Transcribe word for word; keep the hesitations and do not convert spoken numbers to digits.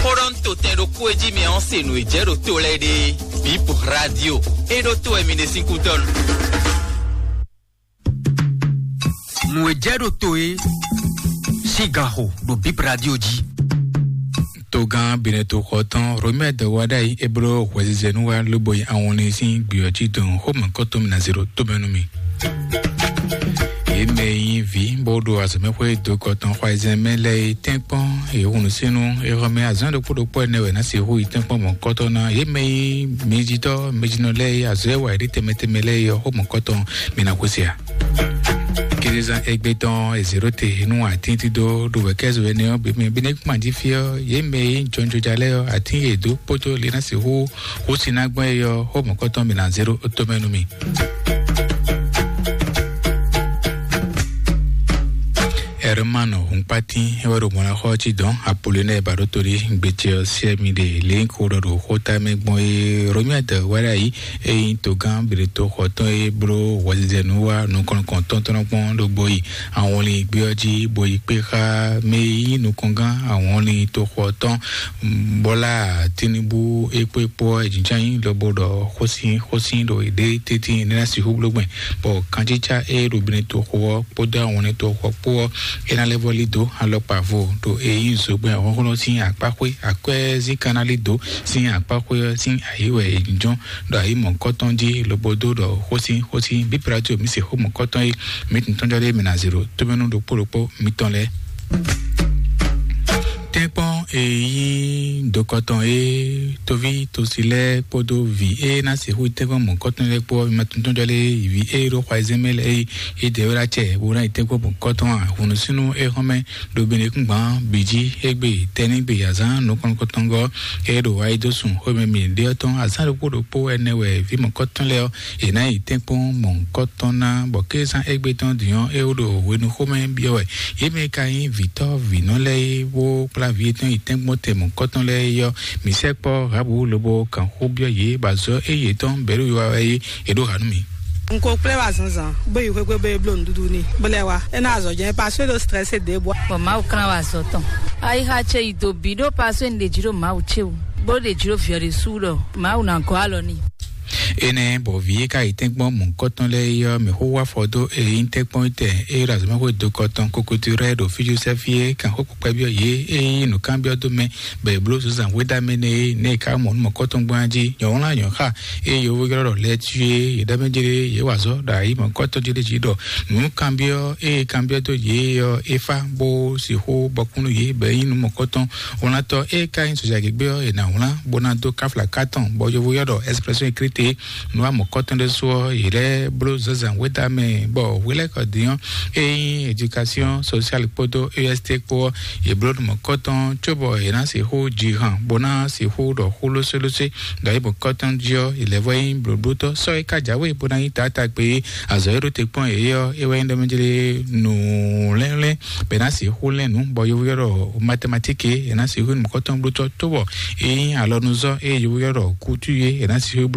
Xó ɖɔ un to tɛn ɖokpó e jí mi ɔ́ se nǔ e jɛ ɖo to lɛ́ɛ ɖe. Bip Radio. E ɖo to wɛ mi ɖe sín kútɔ́ nu. Nǔ e jɛ ɖo to e sín gan xo ɖo Bip Radio jí. Togán Benɛto xɔ tɔn Romɛ dɔ wá ɖ'ayǐ e bló hwɛzizɛ nú wá lobo yi awɔnlin sín gbiyɔ jí dɔn xó mɔ̌kɔtɔn mi ná zé ɖo tómɛ nú mi. Yě mɛ e nyí vǐ bó ɖo azɔ̌mɛxwé dokɔ tɔn xwayizɛn mɛ lɛ́ɛ e tɛ́nkpɔ́n e hun nǔsínu e xɔ mɛ azɔ̌ ɖokpó ɖokpó ɛnɛ wɛ ná sixú yi tɛ́nkpɔ́n mɔ̌kɔtɔn ná. Yě mɛ e nyí mɛjitɔ́ mɛjinɔ lɛ́ɛ e azɔ̌ e wa yě ɖe tɛnmɛ tɛnmɛ lɛ́ɛ e ɔ́ xó mɔ̌kɔtɔn mi ná xwesí a? Kézezán égbé tɔn e zě ɖó te nú atín dídó ɖo wɛ̌kɛ́zú énɛ́ ɔ́ bǐ mɛ bí nɛ́ kpán jí fí ɔ́, yě mɛ e nyí jɔnjɔja lɛ́ɛ ɔ́, atín e dǒ kpódó le ná sixú xú sin ná gbɔn é ɔ́, xó mɔ̌kɔtɔn mǐ ná zé ɖó tomɛ nú mì. Hermano Hunkpatin é wɛ ɖo mɔ̌ ná xɔ ɔ́ cí dɔn Apollinaire Baɖótolí gbecɛ ɔ́ siɛ mi ɖe lě ko ɖɔ ɖo xóta mɛ gbɔn é Romuald wá ɖ'ayǐ é nyí togán Beɖetoxɔtɔn e bló hwɛzizɛ nú wá nukɔn kɔntɔn tɔn kpɔ́n ɖo gbo yi awɔnlin gbé ɔ́ jí bo yi kpé xá mɛ e nyí nukɔngán awɔnlin toxo ɔ́ tɔn. Bɔla Tinubu é kpó é kpó ɔ́, è jínjɔ́n ayǐ lobo ɖɔ xósin xósin ɖo yěɖée tɛ́ntin é ná sixú bló gbɛn, bɔ kanjícá e ɖo Beɖetoxo ɔ́ kpódó awɔnlin toxo ɔ́ kpó ɔ́, é ná lɛ́ vɔ́ lí dó alɔkpa vo ɖo e nyí zogbɛ́n hlɔ́nhlɔ́n sín akpáxwé akwɛ́ zín kan ná lí dǒ sín akpáxwé ɔ́ sín ayǐ wɛ è jínjɔ́n ɖo ayǐ mɔ̌kɔtɔn jí lobo dó ɖɔ xósin xósin bíbratio mǐ se xó mɔ̌kɔtɔn e mǐ tɔn jɔ ɖé mǐ ná zé ɖo tómɛnú ɖokpó ɖokpó mitɔn lɛ́ɛ. Tɛ́nkpɔ́n e nyí dokɔtɔn e toví tosi lɛ́ɛ kpódó vǐ e ná sixú tɛ́nkpɔ́n mɔ̌kɔtɔn lɛ́ɛ kpó ɔ́, mi ma tɔn jɔ lé vǐ e ɖo xɔ ayizɛ́n mɛ lɛ́ɛ e é dɛ wɛ ɖo acɛ bó ná yi tɛ́nkpɔ́n mɔ̌kɔtɔn ǎ. Hǔnúsínú e hɔn mɛ ɖo Benekúngban bǐ jí égbé tɛ́nnígbe azǎn nukɔn nukɔntɔngɔ́ e ɖo ayidosùn xwémɛ mǐɖé ɔ́ tɔn azǎn ɖokpó ɖokpó ɛnɛ wɛ vǐ mɔ̌kɔtɔn lɛ́ɛ ɔ́, è nǎ yi tɛ́nkpɔ́n mɔ̌kɔtɔn ná, bɔ kézán égbé tɔn din ɔ́, é wó ɖo hwenuxómɛ byɔ́ wɛ. Yě mɛ ka nyí vǐtɔ́ vǐnɔ lɛ́ɛ é wó kplá vǐ yětɔn yi tɛ́nkpɔ́n tɛ mɔ̌kɔtɔn lɛ́ɛ é ɔ́, mǐ sɛkpɔ́ Rahabu lobo kan xó byɔ́ yě, bɔ azɔ̌ e yětɔn bɛ̌ ɖo wiwa wɛ é, è ɖǒ ha nú mì. N ko kplé wá zǎnzǎn, bó yi xwé gbe bó yi bló nǔɖuɖu n'i, bó lɛ́ wá. É ná azɔ̌ jɛ́n, paswé ɖo strɛ́sé ɖě bɔ. Bɔ Mawu klán wá azɔ̌ tɔn. Ayixa ce yi do bǐ ɖó paswé un ɖe jǐ ɖo Mawu ce wú, bó ɖe jǐ ɖo vǐ ɔ́ ɖésú ɖɔ Mawu ná gɔ́ alɔ n'i. Énɛ́ bɔ vǐ e ka yi tɛ́nkpɔ́n mɔ̌kɔtɔn lɛ́ɛ é ɔ́, mǐ xó wá afɔ dó e nyí tɛ́nkpɔ́n tɛn e ɖo azɔ̌mɛxwé dokɔ tɔn kokoto rɛ ɖo fíjúsɛ́fí é kan xó kpɛkpɛ byɔ́ yě e nyí nǔkanbyɔ́ dó mɛ bɔ è bló zunzan hwéɖamɛ nɛ é nɛ́ è ka mɔ nú mɔ̌kɔtɔn gbɔn jí nyɔ̌wlán nyɔ̌xa e yǒvo ylɔ́ ɖɔ lɛ́ɛ cí é yě ɖɔ mɛ jlé yě wa azɔ̌ ɖo ayǐ mɔ̌kɔtɔn jí ɖé jí ɖɔ nǔkanbyɔ́ e kanbyɔ́ dó yě ɔ́ é fá bó sixú bɔkún nú yě bɔ é nyí nú mɔ̌kɔtɔn. Wlantɔ́ e ka nyí sɔjagěgbé ɔ́, è nǎ wlán bó ná dó káfla ká tɔn, bɔ yovo ylɔ́ ɖɔ expression écrite nú amɔ̌kɔtɔn ɖésú ɔ́, yě lɛ́ bló zǎnzǎn wéta mɛ, bɔ hwelɛ́kɔ din ɔ́, e nyí éducation sociale kpódó E S T kpó ɔ́, yě bló nú mɔ̌kɔtɔn cóbɔ yě ná sixú ji han, bó ná sixú ɖɔ xó lósélósé, ɖɔ é mɔ̌kɔtɔn jí ɔ́, yě lɛ́ vɔ nyí blǒblótɔ́. Sɔ́ é ka jǎwe bó ná nyí taátagbe é, azɔ̌ e ɖó te kpɔ́n yě é ɔ́, é wɛ nyí ɖɔ mɛ jlé nǔ lɛ́nlɛ́n bɔ è nǎ sixú lɛ́n nǔ, bɔ yovo ylɔ́ ɖɔ mathématique é, è nǎ sixú nǔkɔntɔn blótɔ́ tó bɔ é nyí alɔnuzɔ́ e yovo ylɔ́ ɖɔ couture é, è nǎ sixú